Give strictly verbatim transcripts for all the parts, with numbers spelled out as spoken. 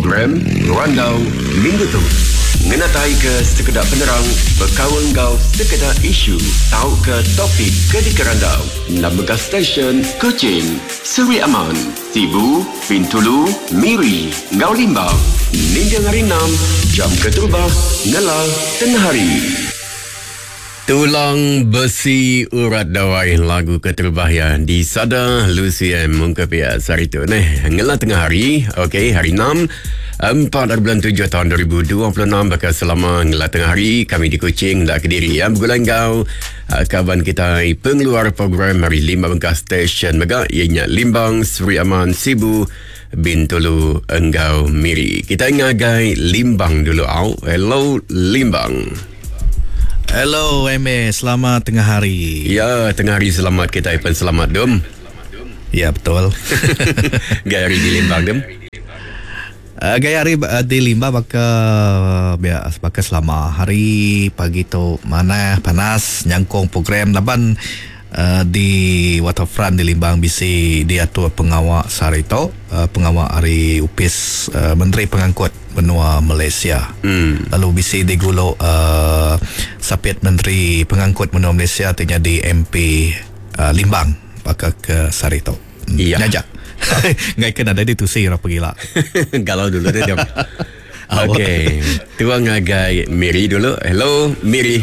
Program Randau Minggu tu ngenataika sekeda penerang bekaul enggau sekeda isu tauka topik ke dikerandau enam bengkah stesen Kuching, Seri Aman, Sibu, Bintulu, Miri enggau Limbang. Ninting hari enam, jam keterubah ngela tengah hari. Tulang Besi Urat Dawai, lagu keterubah ya di Sada Lucy M mungkap ya sehari tu neh ngela tengah hari. Okey, hari enam, empat bulan tujuh tahun dua ribu dua puluh enam, bakal selama ngela tengah hari kami di Kuching dak Kediri ya bergulai enggau uh, kawan kita pengeluar program hari lima bengkah stesen mega ianya Limbang, Seri Aman, Sibu, Bintulu enggau Miri. Kita ngagai Limbang dulu au. Hello Limbang. Hello M A, selamat tengah hari. Ya, tengah hari selamat kita pun selamat dum. Ya, betul. Gaya hari di Limbang dum. Uh, gaya hari uh, di Limbang baka biasa baka selama hari pagi tu mana panas nyangkong program laban uh, di Waterfront di Limbang bisi diatur pengawak sehari tu, uh, pengawak hari Upis uh, Menteri Pengangkut Benua Malaysia. Hmm. Lalu bisi diguluk uh, Sapit Menteri Pengangkut Benua Malaysia tinya di M P uh, Limbang baka ke sehari tu. Hmm. Iya. Nyajak. Ngai kena ada ditusi ra pegila. Galau dulu dia. Okey. Tuang ngagai Miri dulu. Hello Miri.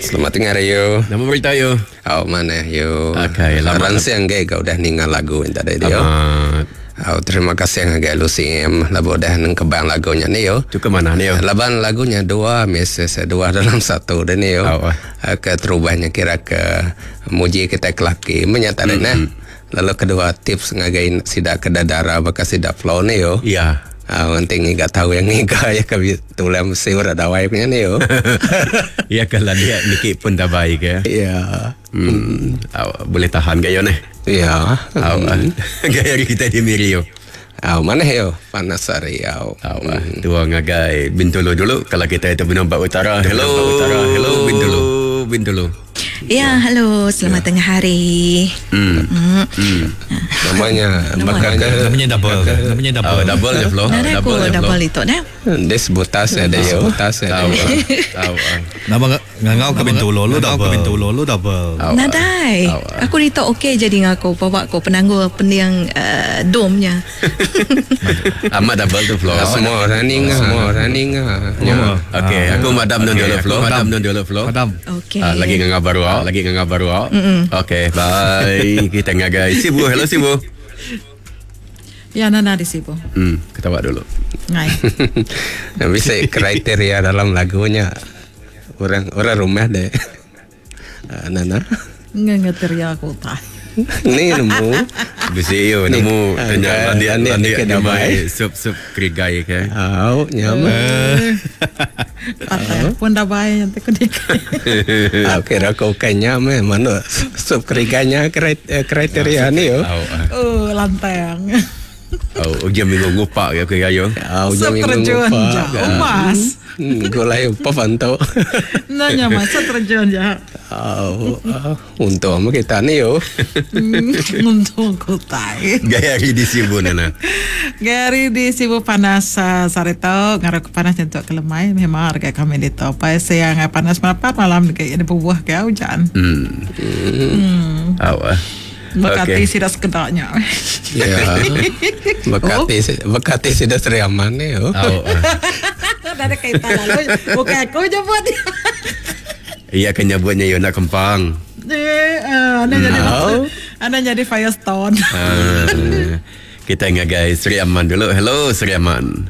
Selamat tengah hari yo. Nama berita yo? Oh mana yo. Okey, lama ransang ge kau dah ningal lagu entar dia. Amat. Oh, terima kasih ngagai Lucy M labu dah neng kebang lagunya ni yo. Tu ke mana ni yo? Laban lagunya dua mesej dua dalam satu dah ni yo. Oh, oh. Ke terubahnya kira ke muji kita kelaki menyata mm-hmm. Nah. Lalu kedua tips ngagai sidak ke dadara baka sidak flow ni yo. Ya. Ah, nanti ngiga tahu yang ngiga ya ke tulang mesti ora dawai punya ni yo. Ya kalau dia niki pun dah baik ya. Ya. Hmm. Oh, boleh tahan gaya ni. Ya. Oh, hmm. Gaya kita di Miri yo. Oh, mana yo? Panas hari yo. Oh, hmm. Tua ngagai Bintulu dulu kalau kita itu Benua Utara. Hello Utara. Hello Bintulu. Bintulu. Ya, halo, selamat ya. Tengah hari. Hmm. Hmm. Hmm. Namanya bakal namanya double. Namanya double. Oh, double ya, Flo. Double, double itu dah. Des butas ada yo. Butas ada. Tahu. Nama ngangau ke Bintulu lu double. Bintulu lu double. Nadai. Aku ditok okey jadi ngaku bawa aku penanggul pendiang uh, domnya. Amat double tu Flo. Semua running, semua running. Okey, aku madam non dulu Flo. Madam non dulu Flo. Madam. Okey. Lagi ngangau baru, lagi ngangau baru. Okey, bye. Kita ngagai Sibu. Hello Sibu. Ya, Nana di Sibu. Hmm, ketawa dulu. Ngai. Bisa kriteria dalam lagunya. Orang orang rumah deh. Nana. Ngengeteria aku tak. Ni nemu. Bisa yo nemu tanya dia dia dia mai sup sup kerigai ke. Au, nyaman. Patah pun dah baik nanti ku dik. Au kira kau kenya meh mana sup kerigainya kriteria ni yo. Oh, lantang. Oh, ujung minggu ngupak ke kira yo. Au, ujung minggu ngupak. Umas. Gulai apa pantau. Nanya masa terjun ya. Oh, untung kita ni yo. Untung ku tai. Gaya hari di Sibu Nana. Gaya hari di Sibu panas uh, sarito ngaruh panas nyentuh ke lemai memang harga kami di topai siang panas merapat malam kayak ini buah ke hujan. Hmm. Hmm. Awak. Bekati okay. Sidak sekedaknya. Ya. Bekati oh. Bekati sidak Seri Aman ni yo. Oh. Ada kaitan lalu. Bukan aku jemput. Iya kan nyebutnya yo nak kempang. Eh, uh, anda jadi No. anda jadi Firestone. Uh, kita ngagai Seri Aman dulu. Hello Seri Aman.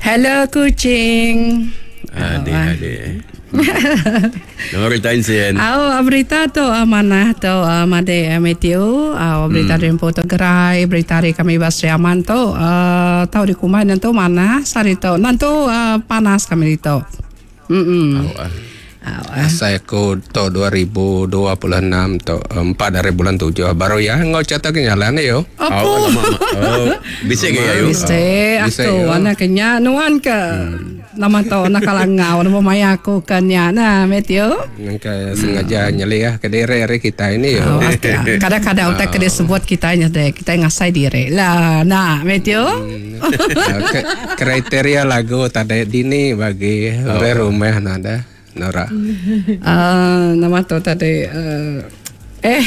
Hello kucing. Adik adik. Nama berita insien. Aw berita tu amanah tu made Matthew. Aw berita hmm. Rempo tu gerai berita hari kami Seri Aman tu uh, tahu di kumai nanti mana sari tu nanti uh, panas kami itu. Hmm. Oh, Ah, Saya ku to dua ribu dua puluh enam to empat dari bulan tujuh baru ya ngau catat kenyalan yo. Apa? Oh, lama, oh, bisa ke ya yo? Bisa Bisa, aku yo. anak kenya nuan ke nama to nak kalangau nama maya aku kenya nah Matthew. Nangka sengaja nyeli ya ke diri hari kita ini yo. Oh, kadang-kadang utak kena sebut kita nya deh kita ngasai diri lah nah Matthew. Ke- kriteria lagu tadi dini bagi oh. rumah nada Nora. Ah, nama tu tadi uh, eh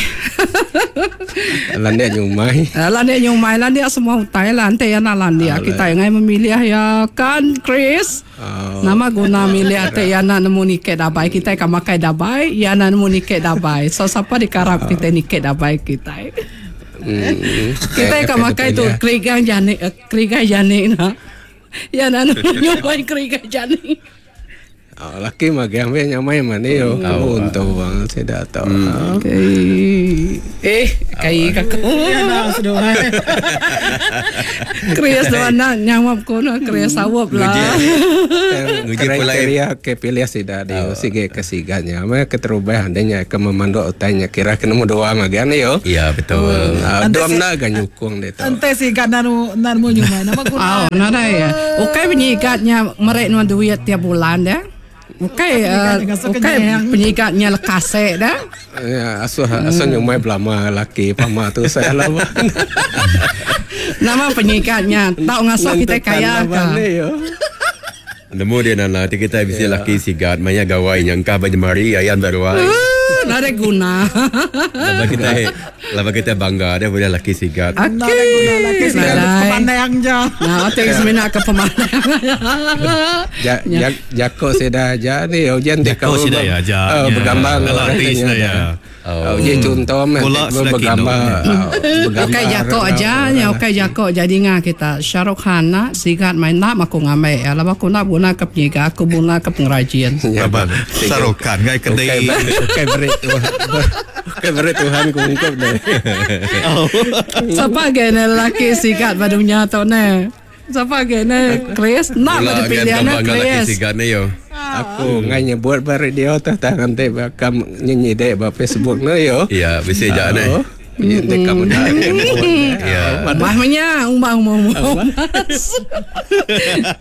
Landia nyumai. Lah dia nyumai lah dia semua utai lah nanti ya nak landia kita yang memilih ya kan Chris. Oh. Nama guna milih ate ya nak nemu niket dabai kita kan makai dabai ya nak nemu niket dabai. So siapa dikarap kita niket dabai kita. Hmm. Kita kan makai tu kerigang jani kerigang jani nah. Ya nak nemu nyumai kerigang jani. Oh, laki mah ambil nyamai mana yo. Untung bang saya dah tahu. Okay. Eh, kai kakak. Ya, sudah. Krias tu anak nyawab kono krias sawab lah. Nguji pula Kriteria ke pilih sida di sige kesiganya mah keterubah andanya ke memanduk utanya kira kena mu dua magian yo. Ya, betul. Ah, dua na ga nyukung deh tu. Ente sih kan nanu nanu nyumai nama guna. Oh, nadai ya. Ukai penyikatnya merek nuan duit tiap bulan dah. Ukai uh, ukai penyikatnya lekase dah. Ya, asuh asuh nyumai belama laki pama tu saya lah. Nama penyikatnya tahu ngasuh kita kaya ka. Nemu dia nana kita bisa laki sigat maya gawai nyangka bajemari ayan baruai. Nadai guna. Laba kita laba kita bangga dia boleh laki sigat. Nada guna laki sih Nadai. pemandang je. Nah, otak semina ke pemandang. Ja, ja, jako seda aja ni hujan dia Jako sida ya, ja. Uh, bergambar Dalam artis katanya. dah ya. Oh. Dia contoh mah Pula sudah bergambar. kino. Ukai jako aja nya ukai jako jadi ngah kita Syahrukh Khan nak sigat main nak aku ngamai ya lah aku nak guna ke penyiga aku guna ke pengrajin. Kabar Sarokan ngai kedai. Bukan beri Tuhan. Bukan beri Tuhan kungkup deh. Siapa gene lelaki sigat badunya tu ne? Siapa gene Chris? Nak Pula pada pilihan gambar laki Chris. sigat ni yo. Aku ngai nyebut beri dia tu tak nanti bakal nyanyi dek ba Facebook no yo. Ya, bisa je ni. Ini kamu dah. Ya. Bah menya umbang mau mau.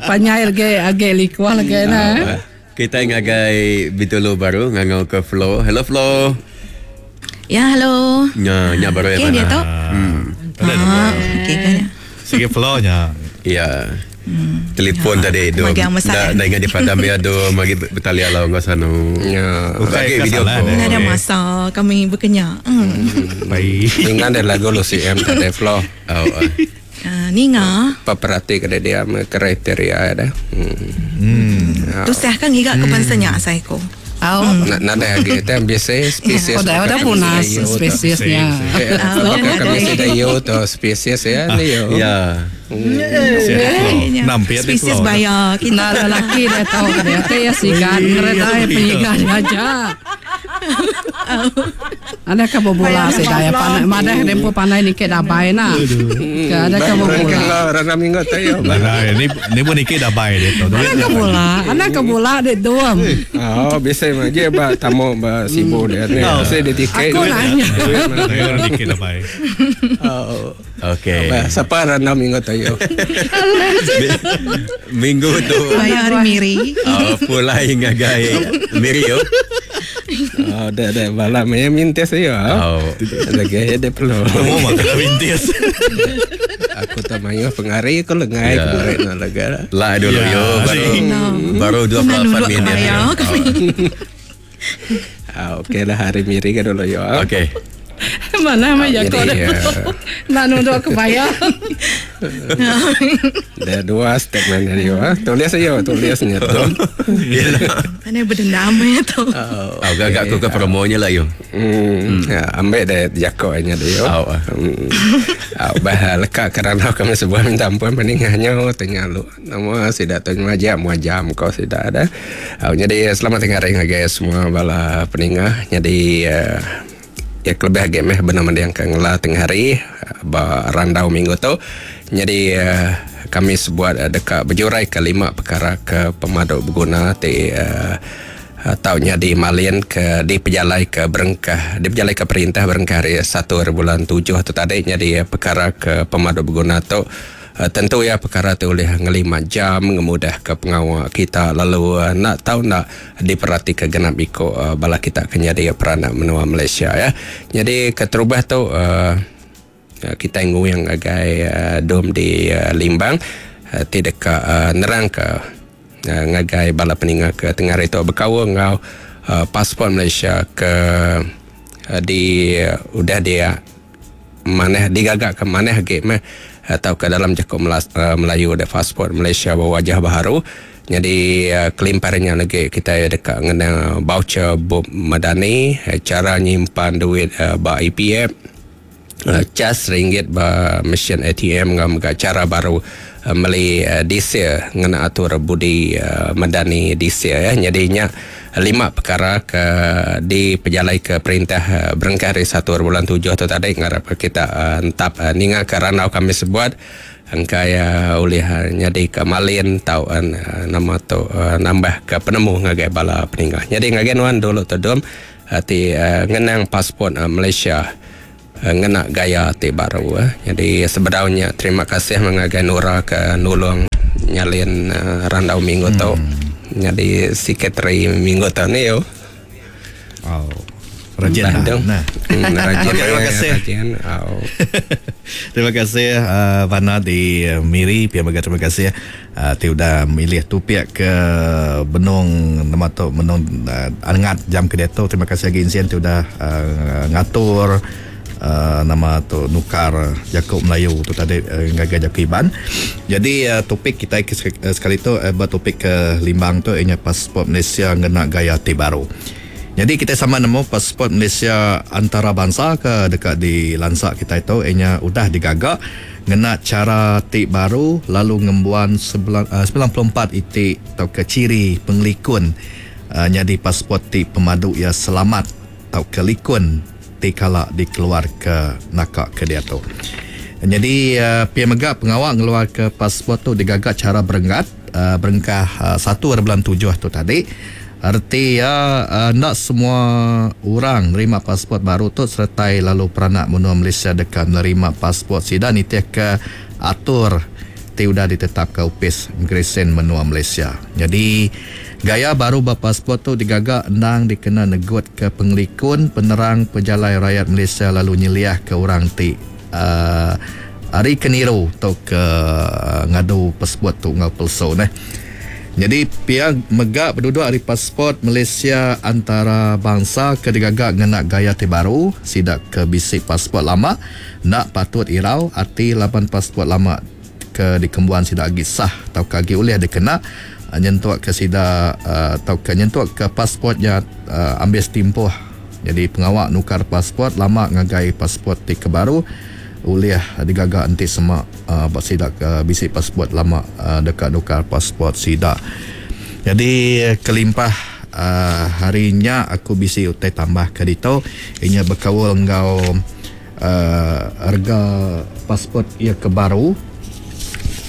Panyair ge age likuah lagi na. Kita ngagai Bintulu baru ngangau ke Flo. Hello Flo. Ya, halo. Nya nya baru Okey, dia tu. Hmm. Ah, okey kan. Sige flow-nya. Ya. Telefon tadi tu. Magang besar. Dah dah ingat di padam ya tu magi bertalia lah ngau sanu. Ya. Bagi Bukan video kesalahan, call. eh. Nggak ada masa kami berkenyak. Hmm. Baik. Ingat ada lagu lu C M tadi flow. Oh. ah. Ah, ninga. Paperati kada dia kriteria ada. Hmm. Tu sah kan ngiga ke pansanya saya ko. Oh, Nak nak ada lagi kita biasa spesies. oh dah dah punah spesiesnya. Apakah kami sudah yo tu spesies ya ni yo. Ya. Nampak dia Spesies flow. bayar kita. Nah, lelaki dia tahu dia teh ya sigat ngeret ai penyigat aja. Ada ke bobola sih daya panai madah dempo panai ni ke dabai na. Ke ada ke bobola. Orang minggu tu yo. Nah, ni ni pun ikut dah baik dia tu. Ada ke bola, ada ke bola dek doam. Oh, biasa mah je ba tamu ba sibuk dia ni. Biasa dia tiket. Aku nanya. Orang dikit dah baik. Oh. Okey. Ba siapa random minggu tu yo. Minggu tu Bayar hari miri. oh, pulai ngagai Miri yo. Oh, dah dah malam ya minta saya. Oh. Lagi ada perlu. Kamu mah kena bintis. Aku tak mayu pengari aku lengai Ya. pengari nak lega. Lah dulu Ya, yo baru baru dua puluh Nanu lapan dua minit. kebaya kami. Ah, okey lah hari miri ke dulu yo. Okey. Mana mah Jadi, jako dah. ya. Nak nunduk kebaya. Ada dua statement dari yo. ah. Tulis yo, tulisnya tu. Mana berdendam ya tu. Oh, agak aku ke promonya lah yo. Hmm. Ya, ambil deh jako nya dia. Oh, ah. Hmm. Ah, bah leka kerana kami sebuah minta ampun peningahnya tanya lu. Nama sudah tanya aja mau jam kau sudah ada. Ah, jadi selamat tengah hari guys semua bala peningah. Jadi uh, ya kelebih game eh benar yang ke ngela tengah hari ba randau minggu tu. Jadi uh, kami sebuat uh, dekat berjurai ke lima perkara ke pemaduk berguna ti uh, Atau nyadi malin ke di pejalai ke berengkah di pejalai ke perintah berengkah hari satu bulan tujuh tu tadi. Jadi perkara ke pemadu berguna tu tentu ya perkara tu oleh ngelima jam ngemudah ke pengawal kita lalu nak tahu nak diperhati ke genap iko bala kita ke jadi peranak menua Malaysia ya. Jadi keterubah tu kita nguyang agai dom di Limbang tidak nerang ke ngagai bala peninga ke tengah hari tu berkaul ngau uh, pasport Malaysia ke uh, di uh, udah dia maneh digagak ke maneh ge meh atau ke dalam cakap uh, Melayu ada pasport Malaysia berwajah baru. Jadi uh, kelimparnya lagi kita dekat ngena voucher Bob Madani, uh, cara nyimpan duit uh, ba E P F, uh, cas ringgit ba mesin A T M ngam cara baru uh, meli uh, diesel ngena atur budi uh, Madani diesel ya. Jadinya lima perkara ke di pejalai ke perintah uh, berengkah hari satu bulan tujuh tu tadi ngarap kita uh, entap uh, ninga ke ranau kami sebuat engkai uh, oleh uh, nyadi ke malin tau uh, nama tu uh, nambah ke penemu ngagai bala peningah. Jadi ngagai nuan dulu tu dom uh, ti uh, ngenang pasport uh, Malaysia ngena gaya ti baru eh. Jadi sebenarnya terima kasih mengagai Nura ke nulung nyalin uh, randau minggu hmm. tu. Jadi sekretari minggu tu ni yo. Oh. Rajin lah. Nah. Hmm, rajin. Okay, terima kasih. Rajin. Oh. Terima kasih uh, Vana di uh, Miri, pihak baga terima kasih uh, ti udah milih tu pihak ke benung nama tu benung uh, angat jam ke dia tu. Terima kasih lagi Insien ti udah uh, ngatur Uh, nama tu nukar Jakub Melayu tu tadi uh, ngagai Jakub Iban. Jadi uh, topik kita sekali tu uh, bertopik ke Limbang tu ianya pasport Malaysia ngena gaya ti baru. Jadi kita sama nemu pasport Malaysia antarabangsa ke dekat di lansak kita itu ianya udah digagak ngena cara ti baru lalu ngembuan sembilan puluh empat itik atau ke ciri pengelikun uh, jadi pasport ti pemadu ia selamat atau kelikun kala dikeluar ke nakak ke dia tu. Jadi uh, P M Megak pengawal ngeluar ke pasport tu digagak cara berenggat uh, berengkah uh, satu bulan tujuh tu tadi. Arti ya uh, nak semua orang nerima pasport baru tu sertai lalu peranak menua Malaysia dekat menerima pasport sida nitih ke atur ti udah ditetapkan upis Immigration menua Malaysia. Jadi gaya baru berpasport tu digagak endang dikena negut ke pengelikun penerang pejalai rakyat Malaysia lalu nyeliah ke orang ti uh, hari keniru atau ke uh, ngadu pasport tu ngau palsu neh. Jadi pihak megak berduduk hari pasport Malaysia antarabangsa ke digagak ngena gaya ti baru sidak ke bisik pasport lama nak patut irau arti lapan pasport lama ke dikembuan sidak agi sah atau kagi oleh dikena nyentuak ke sida atau ke nyentuak ke pasportnya uh, ambil tempoh. Jadi pengawak nukar pasport lama ngagai pasport ti ke baru oleh digagak enti semak uh, bak sida ke bisik pasport lama uh, dekat nukar pasport sida. Jadi kelimpah uh, harinya aku bisi utai tambah ke dito inya berkaul ngau uh, harga pasport ia ke baru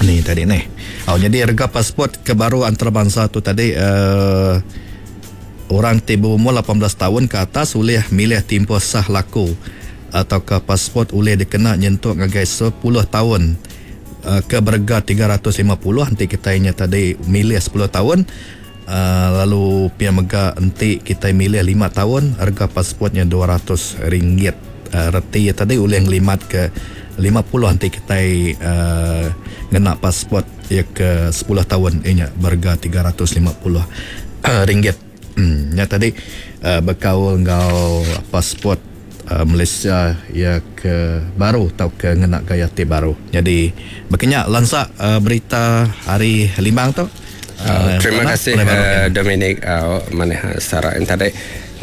ni tadi ni. Oh, jadi harga pasport ke baru antarabangsa tu tadi uh, orang ti berumur lapan belas tahun ke atas boleh milih tempoh sah laku atau ke pasport boleh dikena nyentuh ngagai sepuluh tahun uh, ke berharga tiga ratus lima puluh nanti kita nya tadi milih sepuluh tahun uh, lalu pia mega nanti kita milih lima tahun harga pasportnya dua ratus ringgit. Uh, reti tadi boleh ngelimat ke lima puluh nanti kita uh, ngena pasport ya ke sepuluh tahun inya berharga tiga ratus lima puluh uh, ringgit. Hmm, ya tadi uh, berkaul ngau pasport uh, Malaysia ya ke baru atau ke ngena gaya ti baru. Jadi berkenyak lansak uh, berita hari Limbang tu. Uh, terima kasih uh, Dominic uh, maneh Sarah yang tadi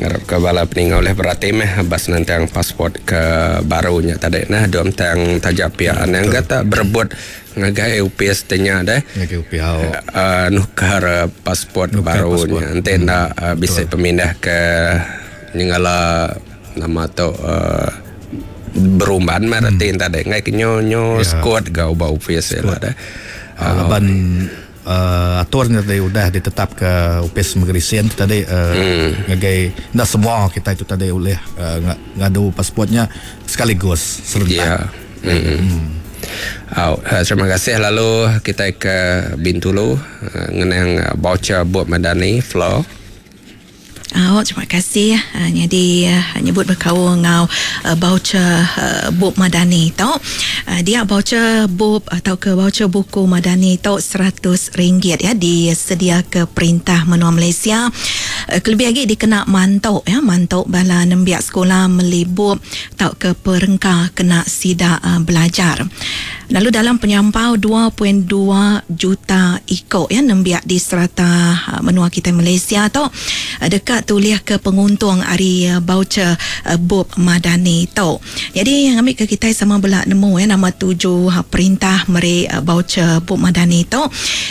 ngarap ke bala peninga oleh berarti meh bas nantang pasport ke barunya tadi nah dom tang tajak pia anang kata berebut ngagai U P S tanya deh ngagai U P S uh, nukar pasport barunya nanti hmm. nak uh, bisa pemindah ke nyengala nama tu uh, berumban mah reti hmm. tadi ngai ke nyo nyo yeah. Squad gau ba U P S lah deh uh, laban uh, atur tadi udah ditetap ke Upis Immigration tu tadi uh, hmm. ngagai enda semua kita itu tadi oleh uh, ngadu pasportnya sekaligus serentak. Ya. Hmm. Hmm. Oh, terima kasih lalu kita ke Bintulu uh, ngenang voucher buat Madani Flow. Oh, terima kasih. Uh, jadi uh, nyebut berkaul ngau uh, voucher uh, Bub Madani tu. Uh, dia voucher Bub atau ke voucher buku Madani tu seratus ringgit ya disedia ke perintah menua Malaysia. Uh, kelebih lagi dikena mantok ya, mantok bala nembiak sekolah melibub atau ke perengka kena sida uh, belajar. Lalu dalam penyampau dua perpuluhan dua juta ikut ya nembiak di serata uh, menua kita Malaysia tu uh, dekat tulis ke penguntung hari uh, voucher uh, Bub Madani tu. Jadi yang ambil ke kita sama belak nemu ya nama tuju uh, perintah meri uh, voucher Bub Madani tu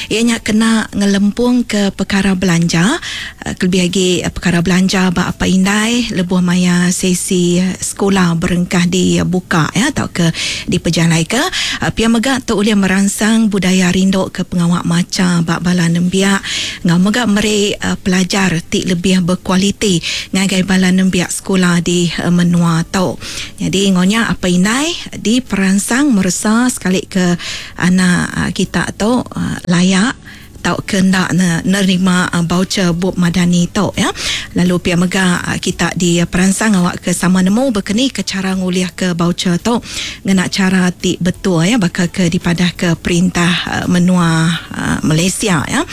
ianya kena ngelempung ke perkara belanja uh, kelebih lagi uh, perkara belanja bak apa indai lebuh maya sesi uh, sekolah berengkah dibuka ya atau ke dipejalai ke uh, pia mega tu boleh merangsang budaya rinduk ke pengawak maca bak bala nembiak ngau mega meri uh, pelajar ti lebih berkualiti ngagai bala nembiak sekolah di uh, menua tu. Jadi ngonya apa indai di perangsang meresa sekali ke anak uh, kita tu uh, layak tau ke ndak nerima uh, voucher Bub Madani tu ya. Lalu pia mega uh, kita di perangsang awak ke sama nemu berkeni ke cara nguliah ke voucher tu ngena cara ti betul ya bakal ke dipadah ke perintah uh, menua uh, Malaysia ya.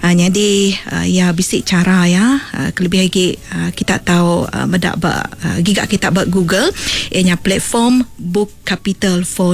Uh, jadi uh, ya bisik cara ya uh, kelebih lagi uh, kita tahu uh, medak ba uh, gigak kita ba Google ianya platform Book Capital for